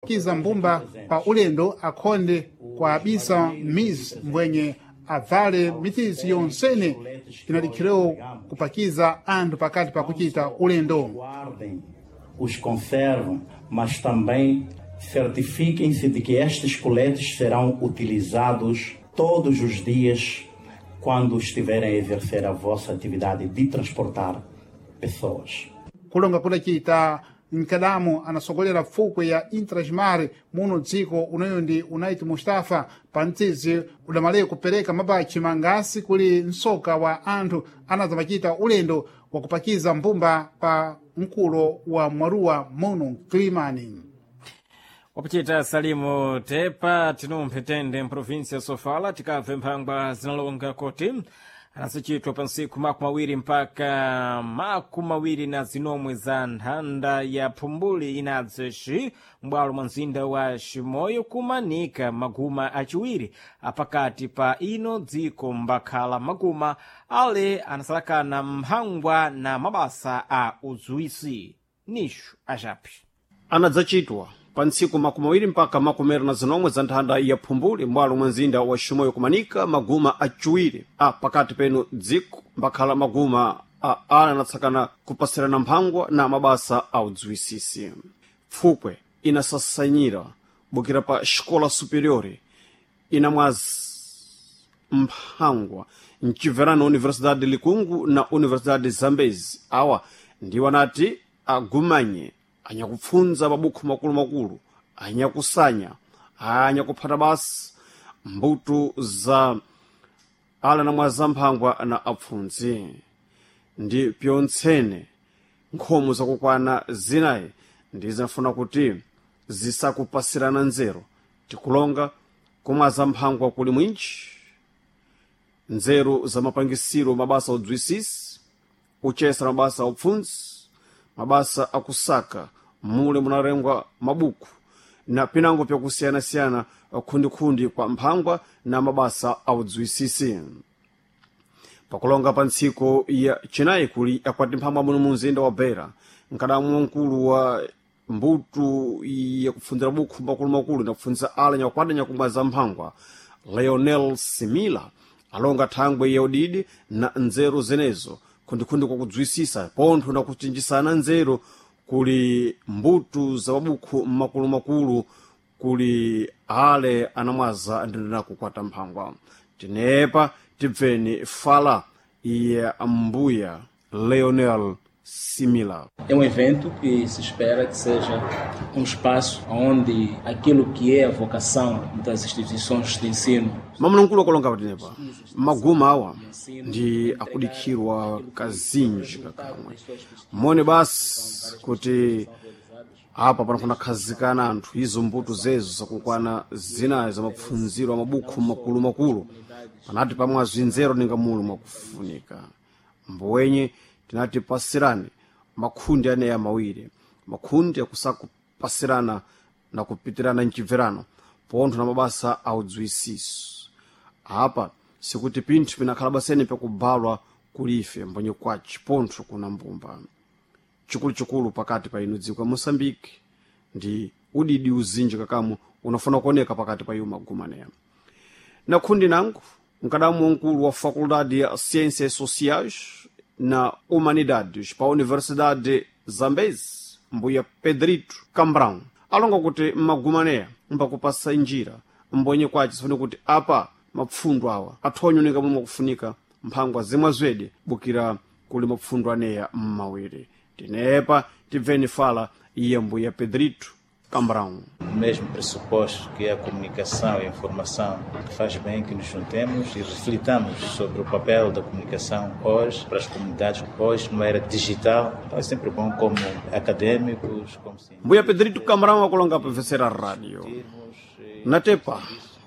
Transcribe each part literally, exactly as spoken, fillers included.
Kiza mbumba pa ulendo akhonde kuabisa mizi mbwenye avale mitizi yonsene inadikhirewo kupakiza anthu pakati pa kuchita ulendo. Guardem, os conservam, mas também certifiquem-se de que estes coletes serão utilizados todos os dias quando estiverem a exercer a vossa atividade de transportar pessoas. Kulonga kudacita mkadamu anasogolera fukwe ya Intrasmar muno dziko unoyo ndi Unait Mustafa pa mtsizi udamale kupereka mabachi mangasi kuli msoka wa anthu anazamachita ulendo wakupakiza mbumba pa mkulo wa mwaruwa muno Mkilimani. Wapachita Salimu Tepa tinumphe tende mprovinsi ya Sofala tikabve mphangwa zinalonga koti anasichitwa pa ntsiku makumi awiri mpaka makumi awiri na zinomwe za nthanda ya phumbuli inadzeshi m'bwalo mwa mzinda wa Chimoyo kumanika maguma achiwiri apakati pa ino dziko mbakhala maguma ale anasalakana mphangwa na mabasa a uzuwisi nishu achapi Anadzachitwa pa ntsiku makumi awiri mpaka makumi awiri na zinomwe za nthanda ya phumbuli m'bwalo mwa mzinda wa Chimoyo kumanika maguma aciwiri a pakati penu dziko mbakhala maguma a ana anatsakana kupasirana mphangwa na mabasa a udziwisisi. Pfukwe inasasanyira bukira pa xikola superior inamwazi mphangwa mcibverano Universidade Likungu na Universidade Zambezi awa ndiwo anati agumanye anyakupfunza mabukhu makulumakulu anyakusanya anyakuphata basi mbuto za ala namwa za mphangwa na apfundzi ndi pyontsene nkhomo zakukwana zinayi ndi zinafuna kuti zisakupasirana nzeru tikulonga kumwa za mphangwa kuli mwinji nzeru za mapangisiro mabasa udzwisisi uchesa mabasa aupfundzi mabasa akusaka mule munalengwa mabuku na pinango pyakusiyanasiyana khundikhundi kwa mphangwa na mabasa audzwisisi. Pakulonga pa ntsiko ya chinayi kuli akwati mphangwa muno mu mzinda wa Beira nkadamu wamkulu wa mbuto yakupfundzira bukhu makulumakulu nakupfundzisa ala nyakukwata nyakumwa za mphangwa Leonel Simila alonga thangwe ya udidi na nzeru zenezo khundikhundi kwakudzwisisa pontho na kuchinjisana nzeru kuli mbuto za mabukhu makulumakulu kuli ale anamwaza ndina kukwata mphangwa. Tinepa tibveni fala ya mbuya Leonel Simila. É um evento que se espera que seja um espaço onde aquilo que é a vocação das instituições de ensino Mamulungulo akulonga patinepa maguma awa ndi akudikhirwa kazinji kakamwe mone basi kuti apa panafuna khazikana anthu izo mbuto zezo zakukwana zinayi za mapfundziro a mabukhu makulumakulu panati pamwe azinzero ninga mulu mwakufunika mbowenye tinati pasirani makhundi aneya mawiri makhundi akusakupasirana na kupitirana mchibverano pontho na mabasa audziwisiso apa sikuti pinthu pinakhala basene pakubalwa kulife mbonye kwaci pontho kuna mbumba chikuluchikulu pakati pa inu dziko ya Moçambique ndi udidi uzinji kakamu unafuna kuoneka pakati pa iwo magumaneya na khundi nangu mkadamu wamkulu wa Faculdade ya Ciências Sociais na Humanidades pa Universidade Zambezi mbuya Pedrito Cambrão alonga kuti mmagumaneya mbakupasa njira mbonye kwaci sifune kuti apa mapfundo awa athonyonika momwe akufunika mphangwa zimwe zwedi bukira kuli mapfundo aneya mmawiri. Tinepa tibveni fala iye mbuya Pedrito Cambrão. O mesmo pressuposto que é a comunicação e a informação, que faz bem que nos juntemos e reflitamos sobre o papel da comunicação hoje para as comunidades, hoje numa era digital. Então é sempre bom como acadêmicos, como cientistas. Mbuya Pedrito Cambrão akulonga pamvetsera rádio natepa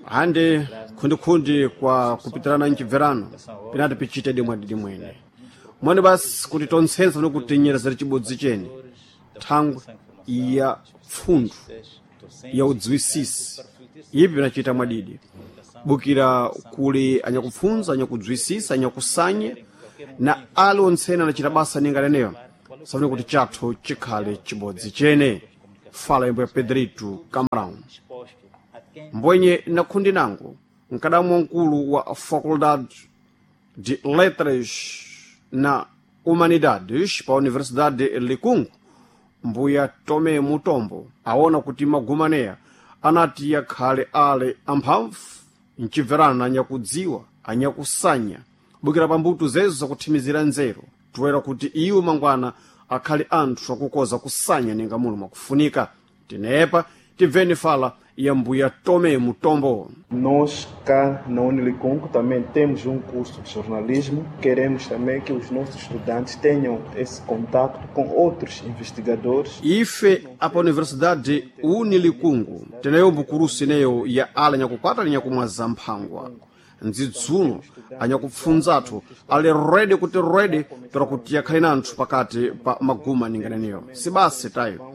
ande khundikhundi kwa kupitirana mchibverano pinati pichite dimwe dimwene mwene basi kuti tontsensa nokuti nyerezera chibodzi chene thangwe ya pfundzu ya udziwisisi ipi pinachita mwadidi bukira kuli anyakupfunza anyakudziwisisa anyakusanya na ali ontsene anachita basa ninga leneyo safune kuti chathu chikhale chibodzi chene. Fala imbo ya Pedrito Camarão. Mbwenye na khundi nango mkadamu wamkulu wa Faculdade de Letras na Humanidades pa Universidade Likungu, mbuya Tome Mutombo, aona kuti magumaneya anati yakhale ale amphamvu mcibverana anyakudziwa, anyakusanya bukira pambuto zezo zakuthimizira nzeru, toera kuti iwo mangwana akhale anthu akukoza kusanya ninga muno mwakufunika. Tinepa tibveni fala ya mbuya Tome Mutombo. Nós cá na Unilikungo também temos um curso de jornalismo. Queremos também que os nossos estudantes tenham esse contato com outros investigadores. Ife apa Universidade Unilikungu teneyo mbukurusi ineyo ya ala nyakukwata linyakumwaza mphangwa ndzidzulo anyakupfunzathu ali redi kuti redi pera kuti yakhale na anthu pakati pa maguma ninganeneyo sibasi tayo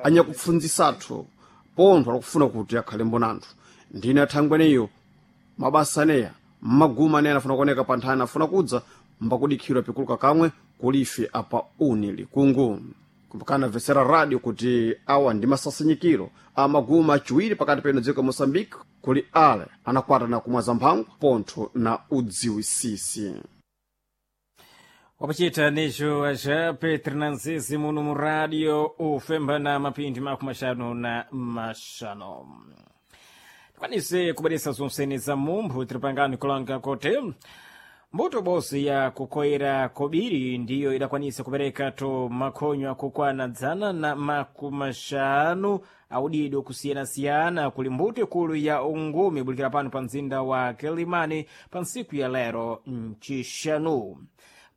anyakupfunzisathu pontho akufuna kuti akhale mbonanthu ndine athangweneyo mabasa aneya mmaguma aneya anafuna kuoneka pa nthani afuna kudza mbakudikhirwa pikuluka kamwe kulife apa uni likungu kumbukana vesera radio kuti awa ndi masasinyikiro a maguma achiwiri pakati peno dziko ya Moçambique kuli ale anakwata na kumwaza mphango pontho na udziwisisi. Wapachita nicho aja Petro Nanzizi muno mu rádio ufemba na mapindi makumi axanu na maxanu. Tikwanise kubweresa zonsene za mumphu tiri kulanga kuti mbuto bosi ya kukoera kobiri ndiyo idakwanisa kupereka to makhonyo akukwana dzana na makumi axanu audido kusiyanasiyana kuli mbuto ikulu ya ungumi ibulikira pano pa mzinda wa Kilimani pa ntsiku ya lero mcixanu.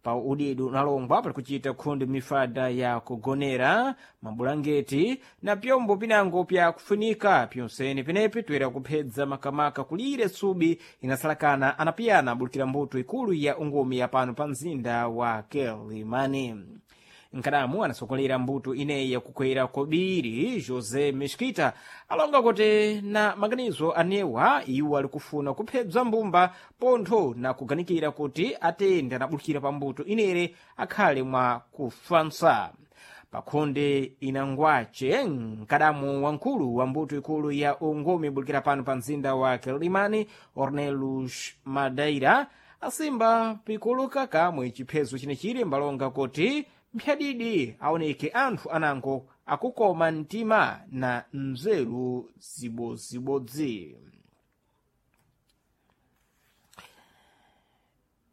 Pa udidu unalongwa pali kuchita khundi mifada ya kugonera, mabulangeti na pyombo pinango pya kufunika pyonsene penepi toera kuphedza makamaka kulire subi inasalakana anapiyana abulikira mbuto ikulu ya ungumi ya pano pa mzinda wa Kilimani. Nkadamu anasokolera mbuto ineyi yakukwera kobiri José Mesquita alonga kuti na maganizo anewa iwo ali kufuna kuphedza mbumba pontho na kuganikira kuti atende anabulukira pa mbuto inere akhale mwa kufansa. Pakhonde inangwace mkadamu wamkulu wa mbuto ikulu ya ungumi ibulikira pano pa mzinda wa Kilimani Ornelus Madeira asimba pikuluka kamwe chiphezo chinechiri mbalonga kuti mphyadidi aoneke anthu anango akukoma mtima na nzeru zibodzibodzi.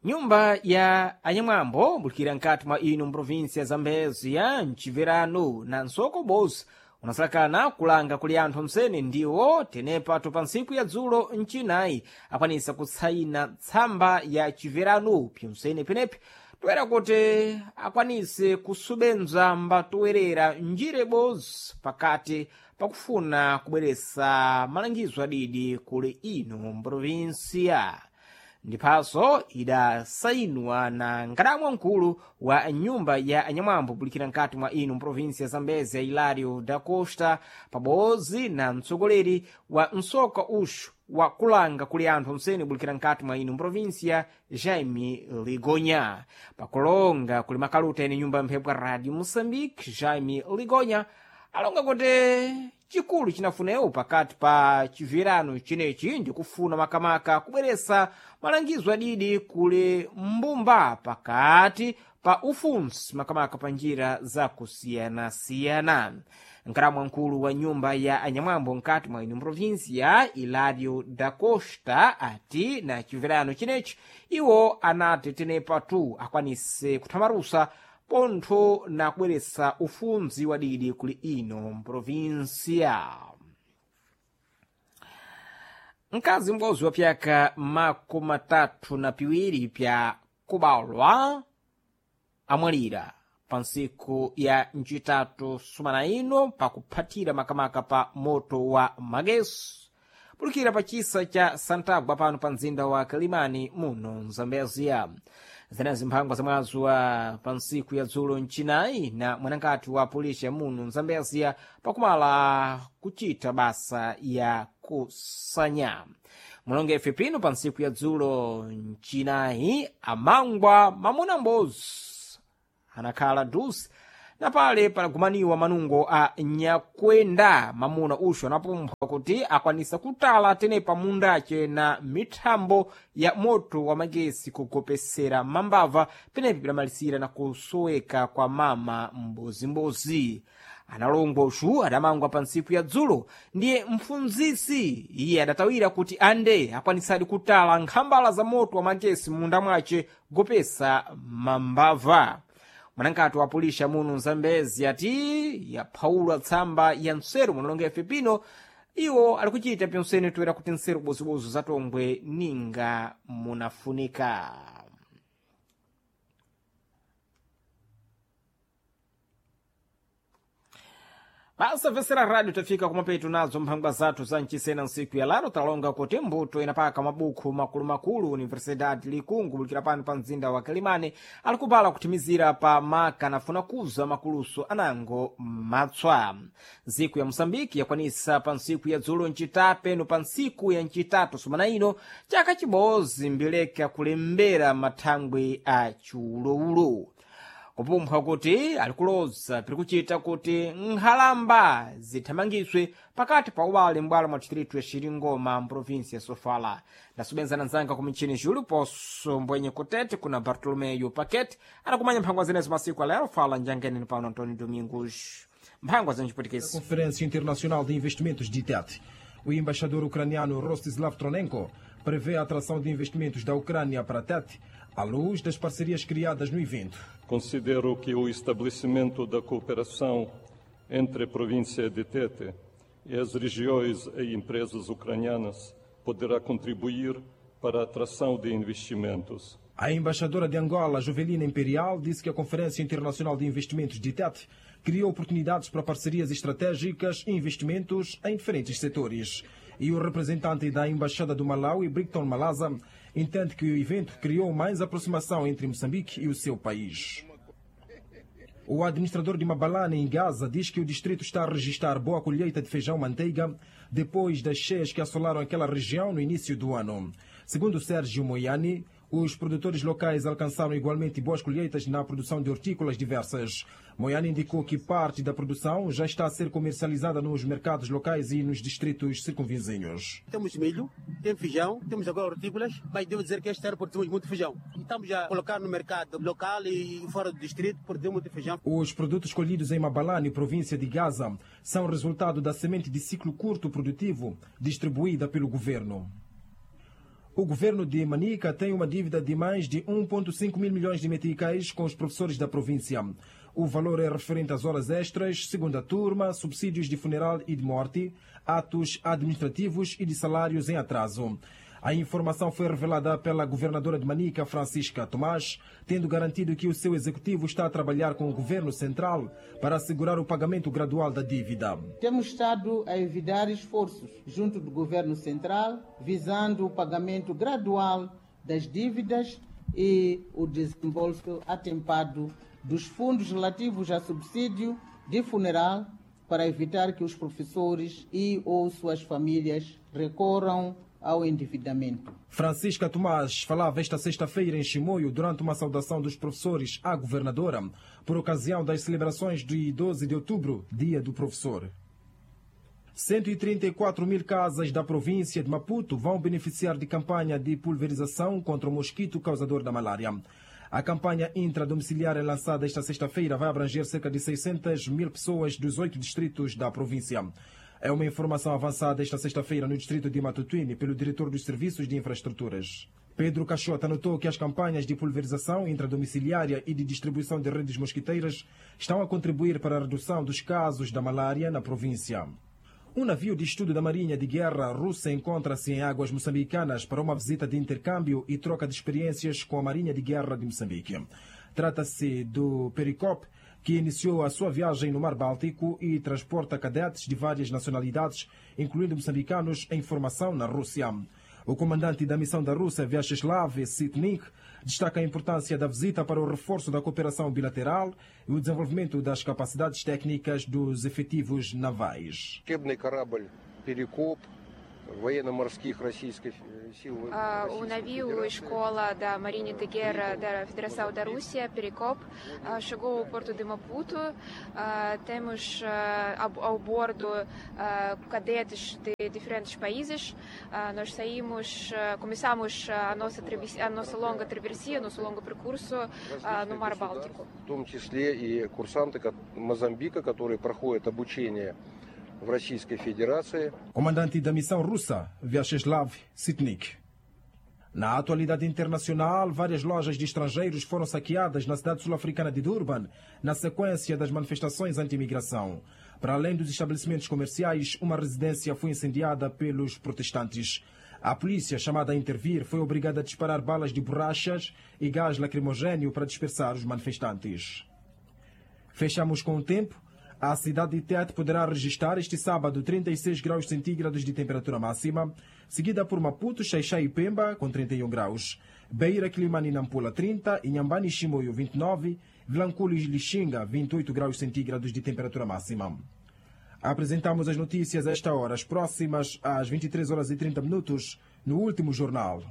Nyumba ya anyamwambo bulikira nkati mwa ino mprovinsia ya Zambezia mciverano na nsoko bosi unasalakana kulanga kuli anthu msene ndiwo tenepato pa ntsiku ya dzulo mcinayi akwanisa kutsayina tsamba ya chiverano pyonsene penepi toera kuti akwanise kusubenza mbatowerera njire bozi pakati pakufuna kubweresa malangizo adidi kuli ino mprovinsia. Ndiphaso idasayinwa na nkadamu wamkulu wa nyumba ya anyamwambo bulikira nkati mwa ino mprovinsia ya Zambezia Hilário da Costa pabodzi na mtsogoleri wa msoka uxu wa kulanga kuli anthu msene bulikira nkati mwa ino mprovinsia Jaime Ligonya. Pakulonga kuli makaluta ene nyumba ya mphepo ya Radio Moçambique Jaime Ligonya alonga kuti chikulu chinafunewo pakati pa chiverano chinechi ndikufuna makamaka kubweresa malangizo adidi kuli mbumba pakati pa ufunsi makamaka pa njira zakusiyanasiyana. Nkalamu wamkulu wa nyumba ya anyamwambo nkati mwa ino mprovinsia Hilário da Costa ati na chiverano chinechi iwo anati tenepa tu akwanise kuthamarusa pontho na kubweresa ufunzi wadidi kuli ino mprovinsia. Mkazi m'bodzi wa pyaka makumi atatu na piwiri pya kubalwa amwalira pa ntsiku ya ncitatu sumana ino pakuphatira makamaka pa moto wa magesi bulukira pa chisa cha Santagua pano pa mzinda wa Kilimani muno Mzambezia. Zenazi mphangwa zamwazo wa pa ntsiku ya dzulo mcinayi na mwanangati wa polisi ya muno Mzambezia pakumala kuchita basa ya kusanya mulonge ife pino pa ntsiku ya dzulo mcinayi amangwa mamuna mbozi anakhala dusi Na pale palagumaniwa manungo a nyakwenda mamuna uxo anapumphwa kuti akwanisa kutala tenepa mundace na mithambo ya moto wa magesi kugopesera mambava penepi pidamalisira na kusoweka kwa mama mbozimbozi. Analongwa uxu adamangwa pa ntsiku ya dzulo ndiye mfunzisi iye adatawira kuti ande akwanisadi kutala nkhambala za moto wa magesi munda mwace gopesa mambava. Mwanankati wa pulisha muno Mzambezi ati yaphaulwa tsamba ya nseru munalonga ife pino iwo ali kuchita pinsene toera kuti nseru bozibozo zatongwe ninga munafunika. Basa vesera rádio tafika kumapeto nazo mphangwa zathu za mchisena nsiku ya laro talonga kuti mbuto inapaka mabukhu makulumakulu Universidade Likungu bulikira pano pa mzinda wa Kalimane ali kupala kuthimizira pa maka nafuna kuza makuluso anango matswa. Ntsiku ya Moçambique yakwanisa pa ntsiku ya dzulo ncitape no pa ntsiku ya ncitatu sumana ino chaka chibozi mbileka kulembera mathangwe a chiulowulo kupumphwa kuti alikuloza pirikuchita kuti nkhalamba zithamangiswe pakati pa ubale m'bwalo mwa distritu ya Xiringoma mprovinsi ya Sofala. Ndasubenzana nzanga ku michini Júlio Poço mbwenye kutete kuna Bartolomeu Paquete anakumanya mphangwa zenezo masiku alero fala njangeneni pano Antônio Domingos mphangwa zenchiputikisi. Conferência Internacional de Investimentos de Tete. O embaixador ucraniano Rostislav Tronenko prevê a atração de investimentos da Ucrânia para Tete à luz das parcerias criadas no evento. Considero que o estabelecimento da cooperação entre a província de Tete e as regiões e empresas ucranianas poderá contribuir para a atração de investimentos. A embaixadora de Angola, Jovelina Imperial, disse que a Conferência Internacional de Investimentos de Tete criou oportunidades para parcerias estratégicas e investimentos em diferentes setores. E o representante da Embaixada do Malawi, Brighton Malaza, entende que o evento criou mais aproximação entre Moçambique e o seu país. O administrador de Mabalane, em Gaza, diz que o distrito está a registrar boa colheita de feijão-manteiga depois das cheias que assolaram aquela região no início do ano. Segundo Sérgio Moiani, os produtores locais alcançaram igualmente boas colheitas na produção de hortícolas diversas. Moiani indicou que parte da produção já está a ser comercializada nos mercados locais e nos distritos circunvizinhos. Temos milho, temos feijão, temos agora hortícolas, mas devo dizer que este ano produzimos muito feijão. E estamos a colocar no mercado local e fora do distrito, produzimos muito feijão. Os produtos colhidos em Mabalane, província de Gaza, são resultado da semente de ciclo curto produtivo distribuída pelo governo. O governo de Manica tem uma dívida de mais de um ponto cinco mil milhões de meticais com os professores da província. O valor é referente às horas extras, segunda turma, subsídios de funeral e de morte, atos administrativos e de salários em atraso. A informação foi revelada pela governadora de Manica, Francisca Tomás, tendo garantido que o seu executivo está a trabalhar com o governo central para assegurar o pagamento gradual da dívida. Temos estado a envidar esforços junto do governo central, visando o pagamento gradual das dívidas e o desembolso atempado dos fundos relativos a subsídio de funeral, para evitar que os professores e ou suas famílias recorram ao endividamento. Francisca Tomás falava esta sexta-feira em Chimoio durante uma saudação dos professores à governadora por ocasião das celebrações de doze de outubro, Dia do Professor. cento e trinta e quatro mil casas da província de Maputo vão beneficiar de campanha de pulverização contra o mosquito causador da malária. A campanha intradomiciliária lançada esta sexta-feira vai abranger cerca de seiscentas mil pessoas dos oito distritos da província. É uma informação avançada esta sexta-feira no distrito de Matutuine pelo diretor dos Serviços de Infraestruturas. Pedro Caixota anotou que as campanhas de pulverização intradomiciliária e de distribuição de redes mosquiteiras estão a contribuir para a redução dos casos da malária na província. Um navio de estudo da Marinha de Guerra russa encontra-se em águas moçambicanas para uma visita de intercâmbio e troca de experiências com a Marinha de Guerra de Moçambique. Trata-se do Pericop, que iniciou a sua viagem no Mar Báltico e transporta cadetes de várias nacionalidades, incluindo moçambicanos, em formação na Rússia. O comandante da missão da Rússia, Vyacheslav Sitnik, destaca a importância da visita para o reforço da cooperação bilateral e o desenvolvimento das capacidades técnicas dos efetivos navais. Учебный корабль «Перекоп» военно-морских Российской сил. O navio escola da Marinha de Guerra da Federação da Rússia, Perekop, chegou ao porto de Maputo. Temos ao bordo cadetes de diferentes países. Nós saímos, começamos a nossa, travessia, a nossa longa travessia, nosso longo percurso no Mar Báltico. В том числе и курсанты Мозамбика, которые проходят обучение в Российской Федерации. Comandante da missão russa, Vyacheslav Sitnik. Na atualidade internacional, várias lojas de estrangeiros foram saqueadas na cidade sul-africana de Durban, na sequência das manifestações anti-imigração. Para além dos estabelecimentos comerciais, uma residência foi incendiada pelos protestantes. A polícia, chamada a intervir, foi obrigada a disparar balas de borrachas e gás lacrimogêneo para dispersar os manifestantes. Fechamos com o tempo. A cidade de Tete poderá registrar este sábado trinta e seis graus centígrados de temperatura máxima, seguida por Maputo, Xaixai e Pemba, com trinta e um graus. Beira, Quilimane e Nampula, trinta, Inhambane e Chimoio, vinte e nove, Vilanculo e Lixinga, vinte e oito graus centígrados de temperatura máxima. Apresentamos as notícias a esta hora, as próximas às vinte e três horas e trinta minutos, no último jornal.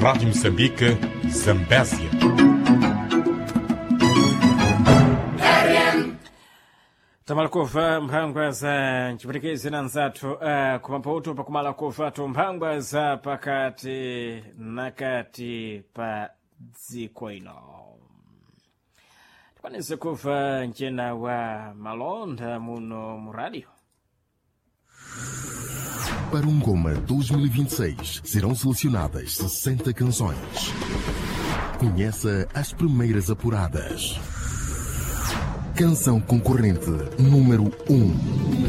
Rádio Moçambique, Zambésia. Tamalakova mphangwa za ncipwetikizi na nzathu uh, kumaputu pakumalakova tu mphangwa za pakati na kati pa dziko ino. Tikwanise kuva ncena wa malonda muno mu rádio. Para o Ngoma dois mil e vinte e seis serão selecionadas sessenta canções. Conheça as primeiras apuradas. Canção concorrente número um.